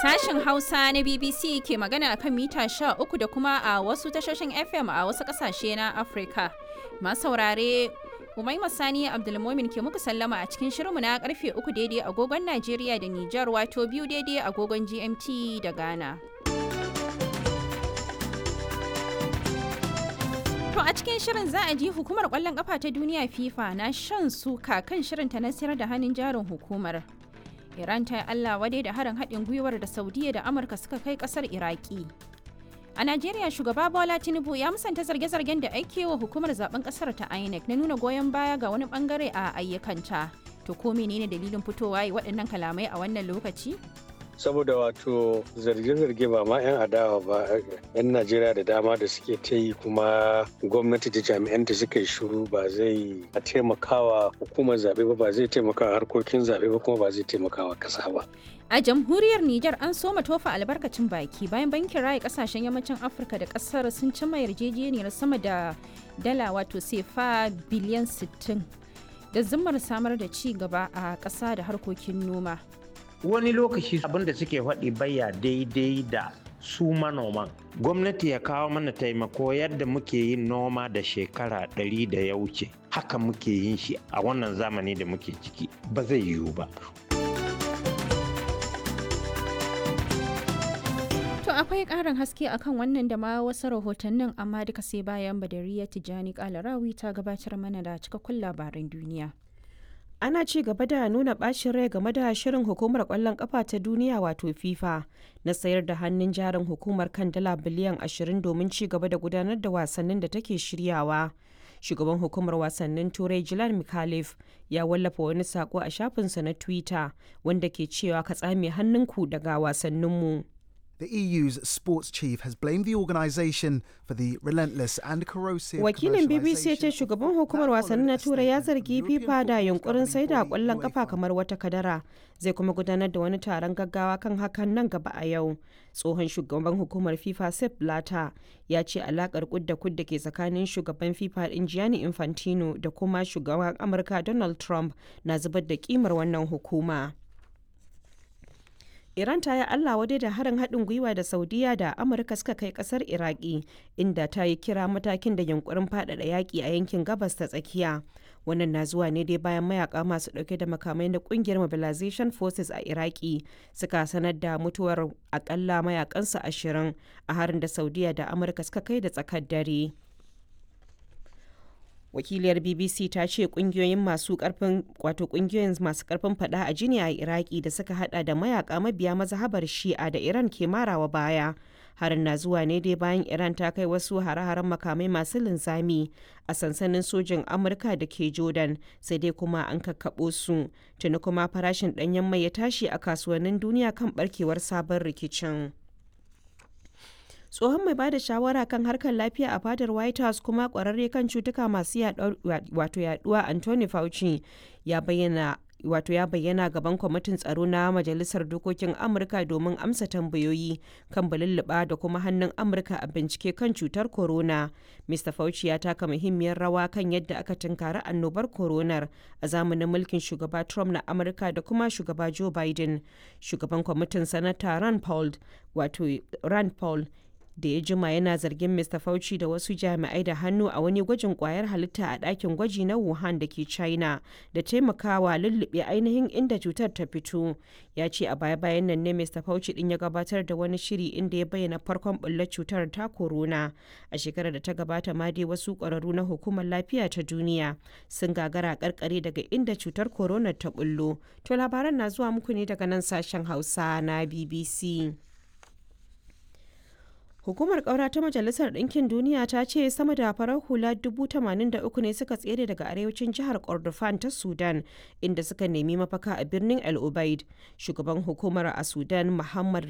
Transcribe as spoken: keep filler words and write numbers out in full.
Sashen Hausa na B B C ke magana a kan mita sha uku da kuma a wasu tashoshin F M a wasu ƙasashe na Afirka. Masu saurare, Umaima Sani Abdulmomin ke muku sallama a cikin shirinmu na karfe uku daidai agogon Najeriya da Nijar, wato biyu daidai agogon G M T da Ghana. To, a cikin shirin za a ji hukumar kwallon kafa ta duniya FIFA na shan suka kan shirinta na sayar da hannun jarin hukumar. Iran ta yi Allah wadai da harin haɗin gwiwar da Saudiya da Amurka suka kai ƙasar Iraki. A Najeriya, shugaba Bola Tinubu ya musanta zarge-zargen da ake wa hukumar zaben ƙasar ta INEC na nuna goyon baya ga wani bangare a ayyukanta. To, ko menene dalilin fitowa yi waɗannan kalamai a wannan lokaci? Saboda wato zarge-zarge ba ma 'yan adawa ba, 'yan Najeriya da dama da suke ta yi, kuma gwamnati da jami'anta suka yi shiru, ba zai taimakawa hukumar zaɓe ba, ba zai taimakawa harkokin zaɓe ba, kuma ba zai taimakawa ƙasa ba. A jamhuriyar Nijar, an soma tofa albarkacin baki bayan bankin raya kasashen yammacin Afirka da kasar sun cimma yarjejeniyar sama da dala, wato sefa biliyan sittin, da zimmar samar da ci gaba a ƙasa da harkokin noma. Wani lokaci abin da suke faɗi baya daidai da su manoman. Gwamnati ya kawo mana taimako. Yadda muke yin noma da shekara ɗari da ya wuce haka muke yin shi a wannan zamani da muke ciki, ba zai yiwu ba. To, akwai ƙarin haske akan wannan da ma wasu rahotannin, amma duka sai bayan Badariya Tijjani Kalarawi ta gabatar mana da cikakkun labaran duniya. Ana ci gaba da nuna bacin rai game da shirin hukumar kwallon kafa ta duniya, wato FIFA, na sayar da hannun jarin hukumar kan dala biliyan ashirin domin ci gaba da gudanar da wasannin da take shiryawa. Shugaban hukumar wasannin Turai, Jilan Mikhalif, ya wallafa wani sako a shafinsa na Twitter wanda ke cewa, "Ka tsame hannunku daga wasanninmu." The E U's sports chief has blamed the organisation for the relentless and corrosive Wakilin B B C ya ce shugaban hukumar wasannin na Turai ya zargi FIFA da yunkurin saida kwallon kafa kamar wata kadara. Zai kuma gudanar da wani taron gaggawa kan hakan nan gaba a yau. Tsohon shugaban hukumar FIFA, Sepp Blatter, ya ce alakar kud da kud da ke tsakanin shugaban FIFA din, Gianni Infantino, da kuma shugaban Amurka Donald Trump na zubar da kimar wannan hukuma. Iran ta yi Allah wadai da harin haɗin gwiwa da Saudiya da Amurka suka kai ƙasar Iraki, inda ta yi kira matakin da yunkurin faɗaɗa yaƙi a yankin Gabas ta Tsakiya. Wannan na zuwa ne dai bayan mayaka masu ɗauke da makamai na ƙungiyar Mobilization Forces a Iraki suka sanar da mutuwar akalla mayakansu ashirin a harin da Saudiya da Amurka suka kai da tsakar dare. Wakiliyar B B C ta ce kungiyoyin masu karfin, wato kungiyoyin masu karfin fada a jini a Iraki da suka hada da mayaka mabiya mazhabar Shi'a da Iran ke marawa baya. Harin na zuwa ne dai bayan Iran ta kai wasu hare-haren makamai masu linzami a sansanin sojin Amurka da ke Jordan, sai dai kuma an kakkaɓo su. Tuni kuma farashin ɗanyen mai ya tashi a kasuwannin duniya kan barkewar sabon rikicin. Tsohon mai bada shawara kan harkar lafiya a fadar White House kuma kwararre kan cutuka masu wato yaduwa, Anthony Fauci, ya bayyana wato ya bayyana gaban kwamitin tsaro na Majalisar Dokokin Amurka domin amsa tambayoyi kan balulluɓa da kuma hannun Amurka a bincike kan cutar corona. Mister Fauci ya taka muhimmiyar rawa kan yadda aka tunkari annobar coronar a zamanin mulkin shugaba Trump na Amurka da kuma shugaba Joe Biden. Shugaban kwamitin, Sanata Rand Paul, wato Rand Paul, da ya jima yana zargin Mister Fauci da wasu jami'ai da hannu a wani gwajin kwayar halitta a ɗakin gwaji na Wuhan da ke China da taimakawa lullube ainihin inda cutar ta fito. Ya ce a baya-bayan nan ne Mister Fauci din ya gabatar da wani shiri inda ya bayyana farkon bullar cutar ta corona. A shekarar da ta gabata ma dai wasu ƙwararru na Hukumar Lafiya ta Duniya sun gagara karkare daga inda cutar corona ta bullo. To, labaran na zuwa muku ne daga nan sashen Hausa na B B C. Hukumar ƙaura ta Majalisar Ɗinkin Duniya ta ce sama da farar hula dubu tamanin da uku ne suka tsere daga arewacin jihar Kordofan ta Sudan, inda suka nemi mafaka a birnin El Ubaid. Shugaban hukumar a Sudan, Muhammad